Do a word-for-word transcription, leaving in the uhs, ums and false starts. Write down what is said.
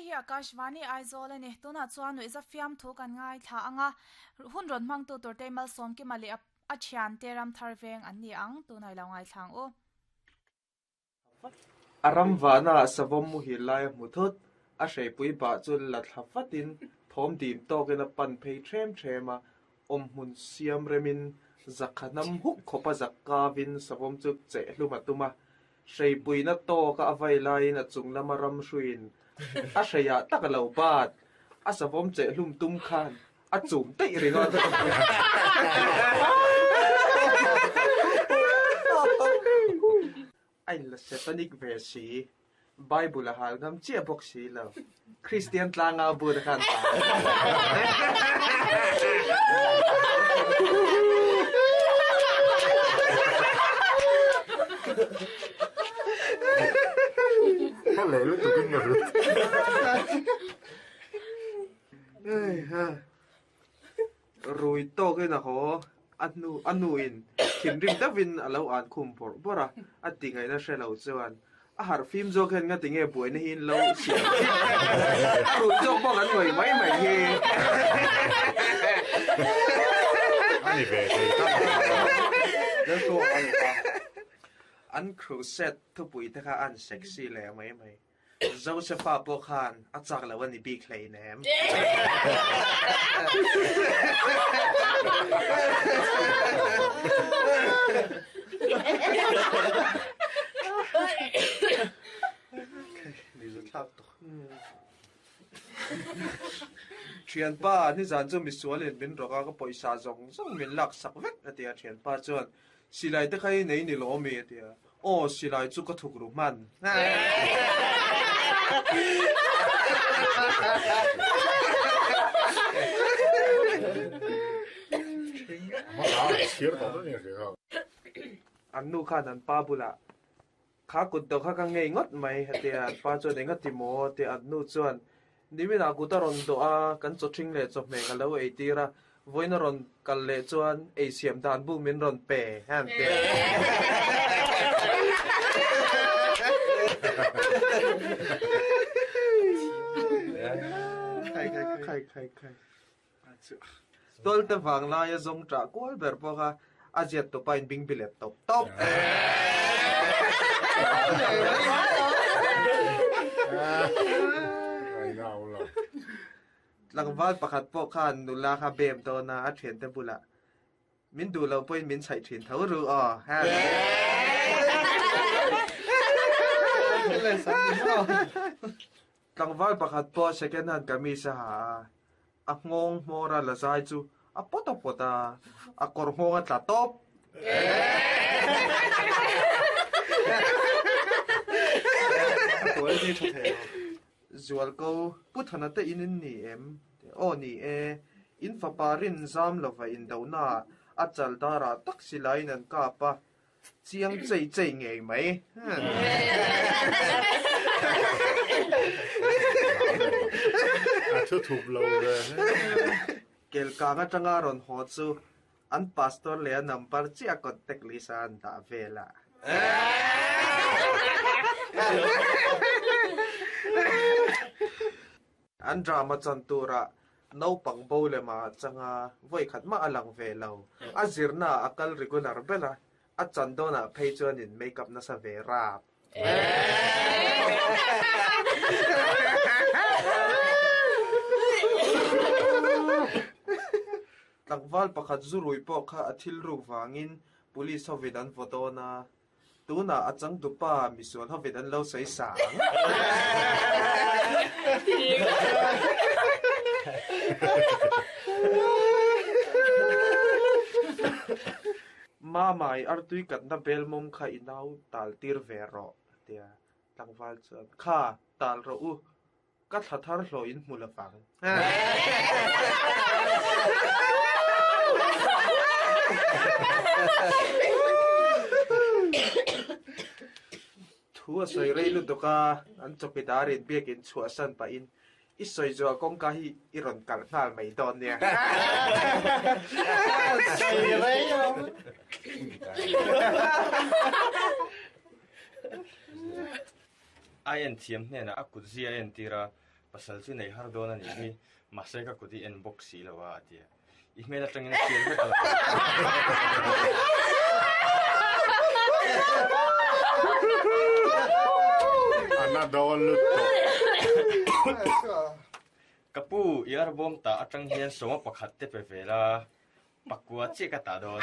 Hei hi Akashvani Aizawl a ni. Tunah chuan nuihza fiamthu kan ngaithla ang a, hun rawn hmangtu turte Malsawmkima leh a thiante Ramthar veng an ni ang. Tunah i lo ngaithla ang u. A ram vahnaah savawm muhil lai a hmu thut. A hreipui bah chu la thla vatin thawm dim tawkin a pan phei ṭhem ṭhem a, awmhmun siam remin zakha hnam huk khawpa zak kavin savawm chu cheh hlum a tum a. Hreipuina tawka a vai laiin a chung lama ram hruiin a hreiah tak a lo bat. A savawm cheh hlum tum khan a chum daih ringawt. A inla satanic ve si. Bible a hal ngam chiah bawk si lo. Kristian tlanga a but a khan ta. Rui tawkin a haw, a hnu a nuin thinrim deuhin a lo an khum bawrh bawrh a, a ti ngaihna hre lo chuan a harh fim zawk hian nga tinge buaina hi in lo siam chiah a rui zawk pawh kan ngawih mai mai hi. A ni ve thei tak a. An crusade thupui te kha an sexy leh mai mai. Josepha pawh khan a chak lo a ni bik hleinem. Thianpa, nizan chu misualin min rawk a, ka pawisa zawng zawng min lak sak vek a ti a. Thianpa chuan, Silai te kha i nei ni lo mi a ti a. Aw, silai chu ka thuk ru hman. An nu khan an pa bulah, Kha kut dawh kha ka ngei ngawt mai a ti a. An pa chuan, Enga ti maw? a ti a. An nu chuan, Niminah kut a rawn dawh a, kan chawṭhing leh chawhmeh ka lo ei tir a, vawiin a rawn kal leh chuan ei siam dan bu min rawn pe a an ti a. Tualte vang laia zawng ṭah kual ber pawh kha a ziat tawpa in bing bilet tawp tawp. Tlangval pakhat pawh khan nula kha bem dawn a, a thiante bulah min duh loh pawhin min chhaih thin tho ru aw. Tlangval pakhat pawh second hand kamis a ha a, a nghawng hmawr a la zai chu a pawt a pawt a, a kawr nghawng a tla tawp. Zualko, Pu Thana te in in ni em? Aw ni e, in fapa rin zam lova indohnaah a chal darah tak silaiin an kap a, Chiang chei chei ngei mai. A thu thup lo ve. Kelkang atanga rawn haw chu an pastor leh a number chiah contact list a an dah vel a. An drama chan turah naupang bo lema changa vawi khat mah a lang ve lo. A zirna ah a kal regular bel a, a chan dawnah phei chuan in make up nasa ve rap. Tlangval pakhat zurui pawh kha a thil ruk vangin police hovin an vaw dawn a. Tunah a changtupa misual hovin an lo sawi sang. Mama, i artui katna belmawm kha i nau tal tir ve rawh, a ti a. Tlangval chuan, Kha, tal rawh u, ka thla thar hlawh in hmu lovang. Thu a sawi rei lutuk a, an chawkidar in biakin chhuahsan pahin i sawi zuah kawngka hi i rawn kalh nghal mai dawn nia. Sawi rei lo. A en thiam hnenah a kut zia a entir a, Pasal chu nei har dawn a nih hi, mahse ka kut i en bawk si lo a, a ti a. I hmel atangin a hriat vek a lo. A na dawn lutuk. Ka pu, i arbawm tah atang hian sawma pakhat te pe ve la, pakua chiah ka tah dawn.